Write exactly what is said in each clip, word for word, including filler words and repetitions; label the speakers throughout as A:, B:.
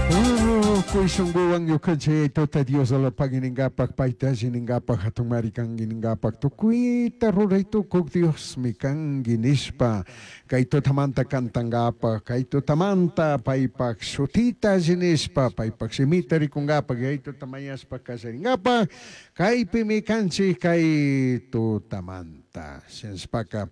A: Tukuy shunkuwan ñukanchik tuta Dios alapagui ningapak paytalli ningapak hatunmari kanki ningapak tukuyta ruray tukuk Diosmi kanki nishpa kay tutamanta kantankapak kay tutamanta paypak shutita alli nishpa paypak shimita rikunkapak yaytuta mañashpa kallarinkapak kaypimi kanchik kay tutamanta shinashpaka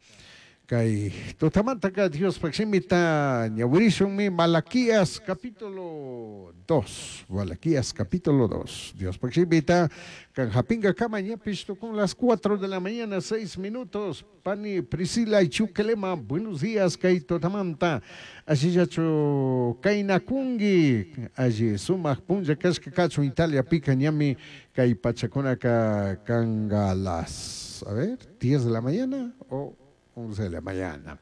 A: kay tutamantaka Diospak shimita ñawirishunmi Malaquías capítulo dos, Malaquías capítulo dos. Diospaj shimita kan japingakama ñapish tukun las cuatro de la mañana seis minutos. Pani Priscila Chuquelema, buenos días kay tutamanta allillachu kaynakunki alli sumak punlla kashka kachun Italiapika ñami kay pachakunaka kanga las, a ver, diez de la mañana o once de la mañana.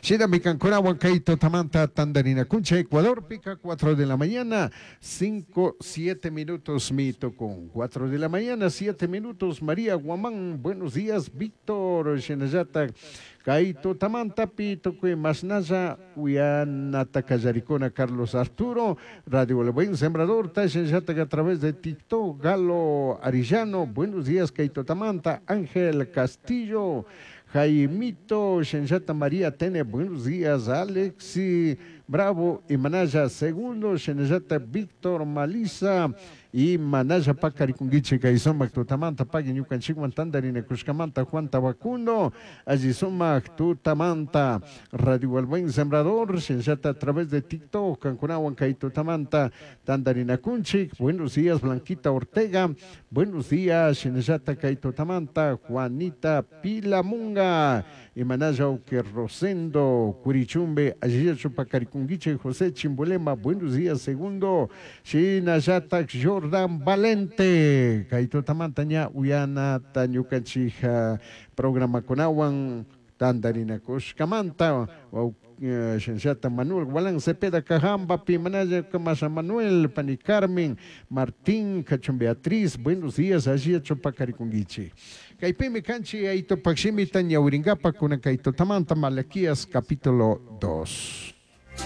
A: Shinami kankunawan kay tutamanta tandarinakuncha Ecuadorpika cuatro de la mañana cinco, siete minutos mi tukun. cuatro de la mañana siete minutos María Guamán, buenos días Víctor shinallata kay tutamantapi tukuy mashnalla uyanata kallarikuna Carlos Arturo, Radio El Buen Sembrador, shinallata a través de TikTok, Galo Arillano, buenos días kay tutamanta, Ángel Castillo, Jaimito, Shenshata María Tene, buenos días, Alexi Bravo y Manaya Segundo, Shenshata Víctor Malisa y Manaya Pacarikunguiche, Kaisomak Tutamanta, Pagui Ñukanchikwan Tandarina Kushkamanta, Juan Tabacundo, allí sumak Tutamanta, Radio El Buen Sembrador, Shenshata a través de TikTok, Cancunawan Kaitutamanta, Tandarina Kunchik, buenos días, Blanquita Ortega, buenos días, Shenshata Kaitutamanta, Juanita Pilamunga, y Manaya Uque Rosendo, Curichumbe, allí Chupacarikunguiche, José Chimbulema, buenos días, segundo, Shinayata Jordan Valente, Kaitutamanta ña Uyana Tañukanchija, programa kunawan, Tandarina Kushkamanta, Shenshata Manuel Gualán Cepeda Cajamba, Pimanaya Camasa Manuel, Pani Carmen, Martín, Cachón Beatriz, buenos días, allí Chupacarikunguiche. Kaypimi kanchi ayto pakshimita ñawringapa kunan kay tutamanta Malaquías capítulo dos.